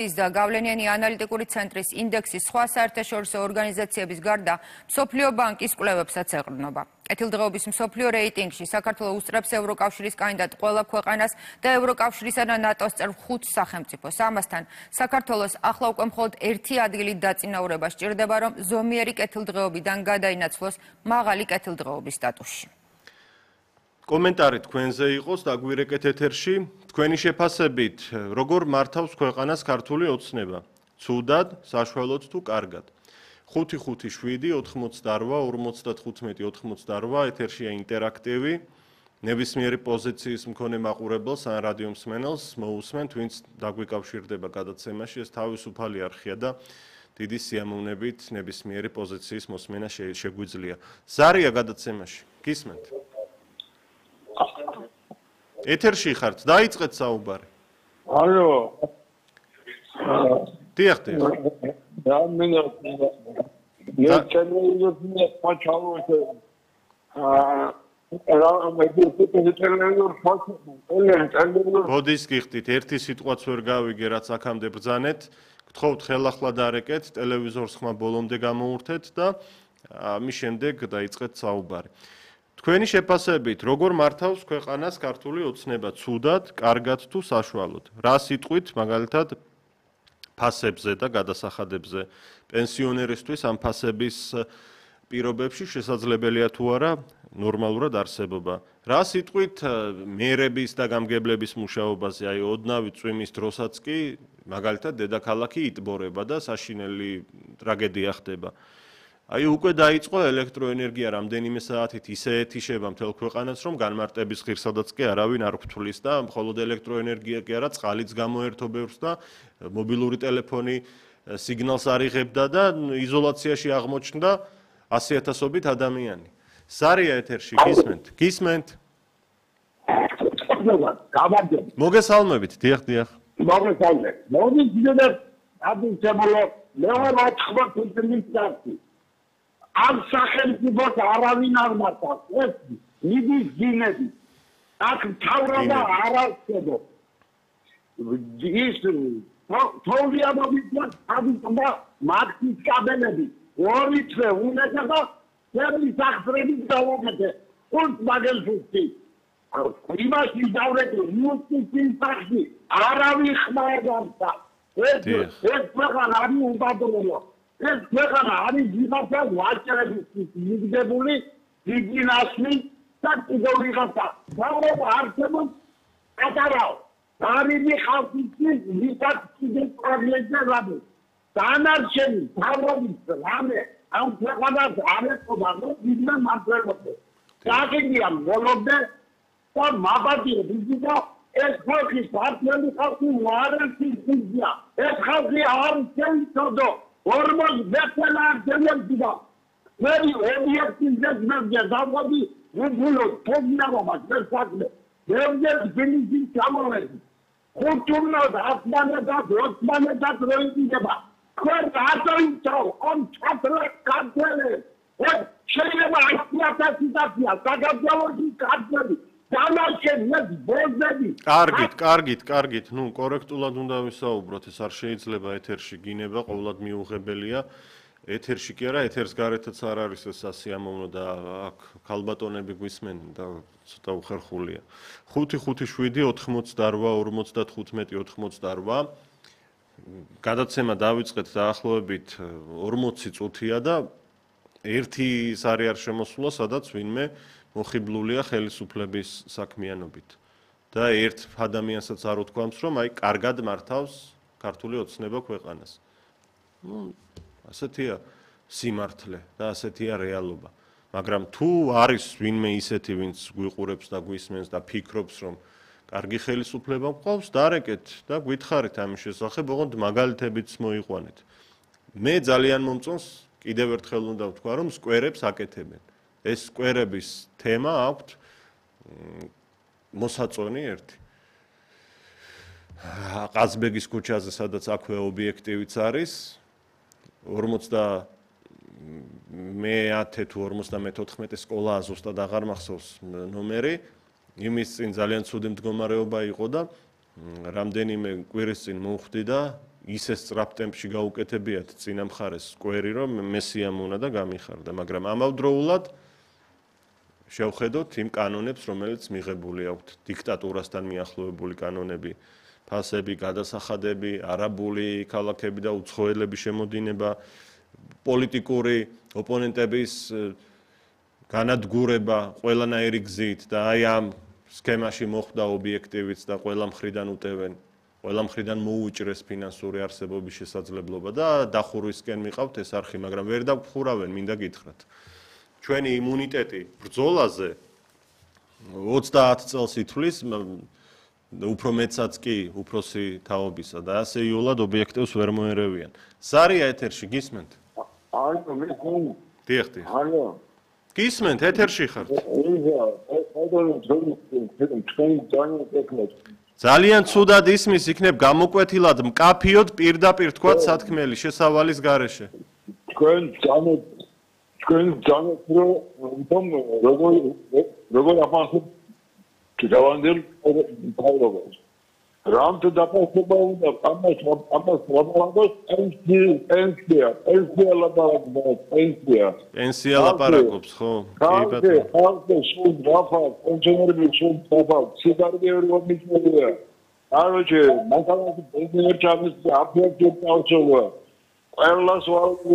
და გავლენიანი ანალიტიკური ცენტრის ინდექსის სხვა საერთაშორისო ორგანიზაციების გარდა მსოფლიო ბანკის კვლევებსაც ეყრდნობა. კეთილდღეობის მსოფლიო რეიტინგში საქართველოს უსწრებს ევროკავშირის კანდიდატ ყველა ქვეყანას და ევროკავშირისა და ნატოს წევრ 5 სახელმწიფოს. ამასთან საქართველოს ახლა უკვე მხოლოდ ერთი ადგილით დაწინაურება სჭირდება, რომ ზომიერი კეთილდღეობიდან გადაინაცვლოს მაღალი კეთილდღეობის სტატუსში. კომენტარი თქვენზე იყოს დაგვირეკეთ ეთერში. თქვენი შეფასებით, როგორ მართავს ქვეყანას ქართული ოცნება? ცუდად, საშუალოდ თუ კარგად? 5-5-7, 88, 55, 88 ეთერშია ინტერაქტივი. ნებისმიერი პოზიციის მქონე მაყურებელს ან რადიო მსმენელს მოусმენთ, ვინც დაგვიკავშირდება გადაცემაში, ეს თავისუფალი არხია და დიდი სიამოვნებით ნებისმიერი პოზიციის მოსმენა შეგვიძლია. ზარია გადაცემაში. გისმენთ? ეთერში ხართ, დაიწყეთ საუბარი. ალო. დიახ. ბოდის გიხდით, ერთი სიტყვაც ვერ გავიგე, რაც აქამდე ბრძანეთ. გთხოვთ ხელახლა დარეკეთ, ტელევიზორს ხმა ბოლომდე გამოურთეთ და ამის შემდეგ დაიწყეთ საუბარი. თქვენი შეფასებით, როგორ მართავს ქვეყანას ქართული ოცნება? ცუდად, კარგად თუ საშუალოდ? რა სიტყვით, მაგალითად, ფასებზე და გადასახადებზე პენსიონერისთვის ამ ფასების პირობებში შესაძლებელია თუ არა ნორმალურად არსებობა? რა სიტყვით მერების და გამგებლების მუშაობაზე, აი ოდნავი წვიმის დროსაც კი მაგალითად დედაქალაქი იტბორება და საშინელი ტრაგედია ხდება. აი უკვე დაიწყო ელექტროენერგია რამდენიმე საათით ისე ეთიშება მთელ ქვეყანას, რომ განმარტების ღირსადაც კი არავინ არ გვთვლის და მხოლოდ ელექტროენერგია კი არა, წყალიც გამოერთობებს და მობილური ტელეფონი სიგნალს არ იღებდა და იზოლაციაში აღმოჩნდა 100,000-ობით ადამიანი. ზარია ეთერში, გისმენთ? გისმენთ? მოგესალმებით, დიახ. მოგესალმებით. მოგესალმებით. ადიჩემალო, მეუბნებათ ხმათი. ამ სახელმწიფოს არავინ არ მართავს. ეს მიდის დინები. აქ თავრობა არ არსებობს. ის თოლიამობითა ადიჭდა მარქსის კაბელები. ორი თვე უნდოდა და ძებლის აღწრებით დავაკეთე. ხუთ მაგელფუსი. იმაში დავრეკე იუსტიციის სახში არავინ ხმარებდა. ეს ქვეყანა არის უბადროა. ეს ქვეყანა არის ვიღაცა ვაჭრების მიგდებული დიდი ნაშნი და კიდევ ვიღაცა თავრობა არსებობს ატარავ. არიდი ხალხის ვიღაც კიდევ პრობლემები რაბი. დანარჩენი თავრობის რამე ამ ქვეყანას არ ეთქობა, რომ ვიდრე მართლობდე. დაგიგია მოლობდე და მაბადია ვიზიდა ეს ხალხი პარტიული ხალხი უარესი ხიზია. ეს ხალხი არ შეიცოდო. ორმოს ბეთელა ძემებდა. მერი ობიექტივზე ძმებია დავყოდი ვუგულო თოგნავობა შესაძლე. ბევრჯერ ძილის გამოვედი. ხუთურნო და ათმანე და ოცმანე და დროინდება. ხარ აწოიცავ ამ ჩათრა კანტელე. შეიძლება ასიათა სიტუაცია საგაბძალოში კანტელი. კარგით. ნუ კორექტულად უნდა ვისაუბროთ, ეს არ შეიძლება ეთერში გინება, ყოველად მიუღებელია. ეთერში კი არა, ეთერს გარეთაც არ არის ეს სასიამოვნო და აქ ქალბატონები გვისმენენ და ცოტა უხერხულია. 5-5-7, 88, 55, 88. გადაცემა დავიწყეთ დაახლოებით 40 წუთია და ერთი ის არ შემოსულა, სადაც ვინმე მოხიბლულია ხელისუფლების საქმიანობით. და ერთ ადამიანსაც არ უთქვამს, რომ აი კარგად მართავს ქართული ოცნება ქვეყანას. ასეთია სიმართლე და ასეთია რეალობა. მაგრამ თუ არის ვინმე ისეთი, ვინც გვიყურებს და გვისმენს და ფიქრობს, რომ კარგი ხელისუფლება მყავს, დარეკეთ და გითხარით ამის შესახებ, ოღონდ მაგალითებიც მოიყვანეთ. მე ძალიან მომწონს, კიდევ ერთხელ უნდა ვთქვა, რომ სკვერებს აკეთებენ. ეს სკვერების თემა აქვთ მოსაწონი ერთი. ყაზბეგის ქუჩაზე, სადაც აქვე ობიექტივიც არის, 50 თუ 54 სკოლა ზუსტად აღარ მახსოვს ნომერი, იმის წინ ძალიან ცუდი მდგომარეობა იყო და რამდენიმე კვირის წინ მოვხვდი და ისე სწრაფ ტემპში გაუკეთებიათ წინა მხარეს სკვერი, რომ მესიამ უნდა და გამიხარდა, მაგრამ ამავდროულად შევხედოთ იმ კანონებს, რომელიც მიღებული აქვთ დიქტატურასთან მიახლოებული კანონები, ფასები, გადასახადები, არაბული ქალაქები და უცხოელების შემოდინება, პოლიტიკური ოპონენტების განადგურება ყველანაირი გზით და აი ამ სქემაში მოხვდა ობიექტივიც და ყველა მხრიდან უტევენ, ყველა მხრიდან მოუჭრეს ფინანსური არსებობის შესაძლებლობა და დახურვისკენ მიყავთ ეს არხი, მაგრამ ვერ დაგხურავენ, მინდა გითხრათ. ჩვენი იმუნიტეტი ბრძოლაზე 30 წელს ითვლის, უფრო მეცაც კი უფროსი თაობისა და ასე იულად ობიექტივს ვერ მოერევიან. სარია ეთერში გისმენთ? არა, მე ხომ. დიახ. არა. გისმენთ, ეთერში ხართ. ძალიან ცუდად ისმის, იქნებ გამოკვეთილად მკაფიოდ პირდაპირ თქვა სათქმელი შესავალის გარეშე. თქვენ ძალიან როგორ აფასებ კიდევანდელ პრობლემას. რამთ დაფასება უნდა ამას ლაპარაკოს პენსია ლაპარაკობს, ხო? კი ბატონო. ხალხი სულ დაფას, პენსიონერები სულ დაფას, სიგარეტები რომ მიწვევია. Короче, მაგალითად პენსიონერ ჩამის აფეთქება. ყველას